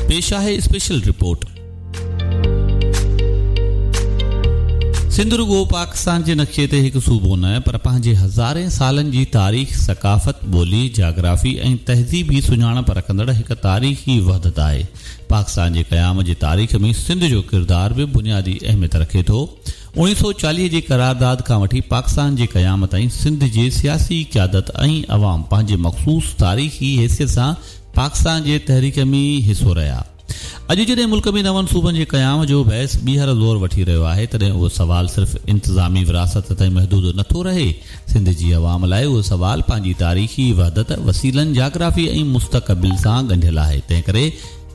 پيش آهي special report. Sindh رڳو پاڪستان جي نقشي تي هڪ صوبو نه پر پنهنجي هزارين سالن جي تاريخ، ثقافت، ٻولي، جاگرافي ۽ تهذيبي سڃاڻپ رکندڙ هڪ تاريخي وحدت آهي. پاڪستان جي قيام جي تاريخ ۾ سنڌ جو ڪردار به بنيادي اهميت رکي ٿو. 1940 جي قرارداد کان وٺي پاڪستان جي قيام تائين سنڌ جي سياسي قيادت ۽ عوام پنهنجي مخصوص تاريخي حيثيت سان پاڪستان جي تحريڪ ۾ حصو رهيا. اڄ جڏهن ملڪ ۾ نون صوبن جي قيام جو بحث ٻيهر زور وٺي رهيو آهي، تڏهن اهو سوال صرف انتظامي وراثت تائين محدود نٿو رهي. سنڌ جي عوام لاء اهو سوال پنهنجي تاريخي وحدت، وسيلن، جاگرافي ۽ مستقبل سان ڳنڍيل آهي. تنهنڪري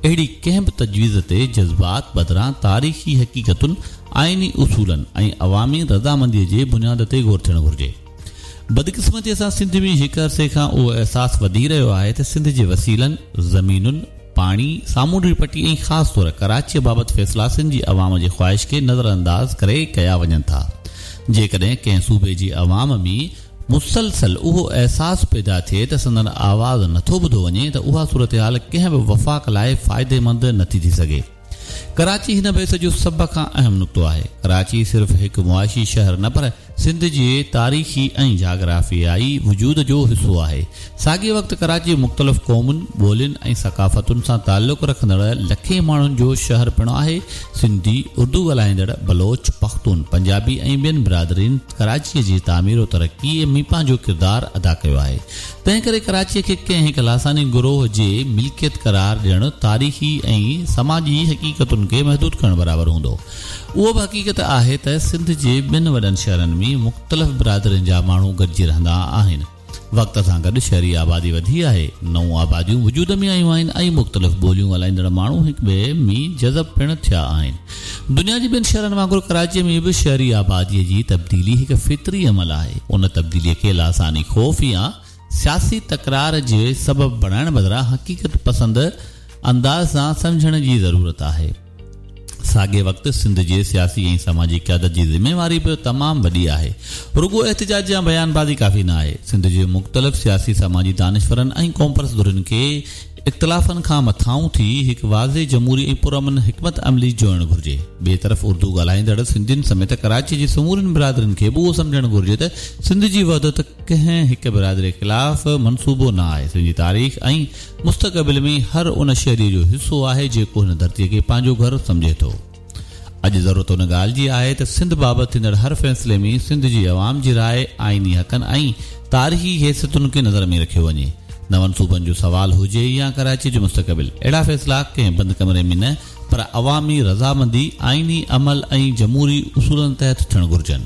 اهڙي ڪنهن به تجويز تي جذبات بدران تاريخي حقيقتن، آئيني اصولن ۽ عوامي رضامنديء جي بنياد تي غور ٿيڻ گهرجي. بدقسمتيء سان سنڌ ۾ هڪ عرصي کان اهو احساس وڌي رهيو آهي ته سنڌ جي وسيلن، زمينن، پاڻي، سامونڊي پٽي ۽ خاص طور ڪراچيء بابت فيصلا سنڌ جي عوام جي خواهش کي نظرانداز ڪري ڪيا وڃن ٿا. جيڪڏهن ڪنهن صوبي جي عوام ۾ مسلسل اهو احساس پيدا ٿئي ته سندن آواز نٿو ٻڌو وڃي ته اها صورتحال ڪنهن به وفاق لاء فائديمند نٿي ٿي سگهي. ڪراچي هن بحث جو سڀ کان اهم نقطو آهي. ڪراچي صرف هڪ معاشي شهر نه پر سنڌ جي تاريخي ۽ جاگرافيائي وجود جو حصو آهي. ساڳئي وقت ڪراچي مختلف قومن، ٻولين ۽ ثقافتن سان تعلق رکندڙ لکين ماڻهن جو شهر پڻ آهي. سنڌي، اردو ڳالهائيندڙ، بلوچ، پختون، پنجابي ۽ ٻين برادرين ڪراچيء جي تعمير و ترقيء ۾ پنهنجو ڪردار ادا ڪيو آهي. تنهنڪري ڪراچيء کي ڪنهن هڪ لاثاني گروهه جي ملڪيت قرار ڏيڻ تاريخي ۽ سماجي حقيقتن کي محدود ڪرڻ برابر هوندو. اهو به حقيقت آهي ته سنڌ جي ٻن وڏن شهرن ۾ مختلف برادرين جا ماڻهو گڏجي رهندا آهن. وقت سان گڏ شهري آبادي وڌي آهي، نئون آباديون وجود ۾ آيون آهن ۽ مختلف ٻوليون ڳالهائيندڙ ماڻهو هڪ ٻئي ۾ جذب پڻ ٿيا آهن. دنيا جي ٻين شهرن وانگر ڪراچيء ۾ به شهري آباديء جي تبديلي هڪ فطري عمل آهي. ان تبديليء کي لاثاني خوف يا سياسي تڪرار جي سبب بڻائڻ بدران حقيقت پسند انداز سان سمجهڻ جي ضرورت آهي. ساڳئي وقت سنڌ جي سياسي ۽ سماجي قيادت جي ذميواري به تمام وڏي آهي. رڳو احتجاج يا بيان بازي ڪافي نه آهي. سنڌ جي مختلف سياسي سماجي دانشورن ۽ قومپرست ڌرين کي اختلافن کان مٿانهون ٿي هڪ واضح جمهوري ۽ پرامن حڪمت عملي جوڙڻ گهرجي. ٻئي طرف اردو ڳالهائيندڙ سنڌين سميت ڪراچي جي سمورين برادرين کي به اهو سمجهڻ گهرجي ته سنڌ جي وحدت ڪنهن هڪ برادري خلاف منصوبو نه آهي. سنڌ جي تاريخ ۽ مستقبل ۾ هر ان شهري جو حصو آهي جيڪو هن ڌرتي کي پنهنجو گهر سمجهي ٿو. اڄ ضرورت ان ڳالهه جي آهي ته سنڌ بابت ٿيندڙ هر فيصلي ۾ سنڌ جي عوام جي راء، آئيني حقن ۽ تاريخي حيثيتن کي نظر ۾ رکيو وڃي. نون صوبن جو سوال هجي يا ڪراچي جو مستقبل، اهڙا فيصلا ڪنهن بند ڪمري ۾ نه پر عوامي رضامندي، آئيني عمل ۽ جمهوري اصولن تحت ٿيڻ گهرجن.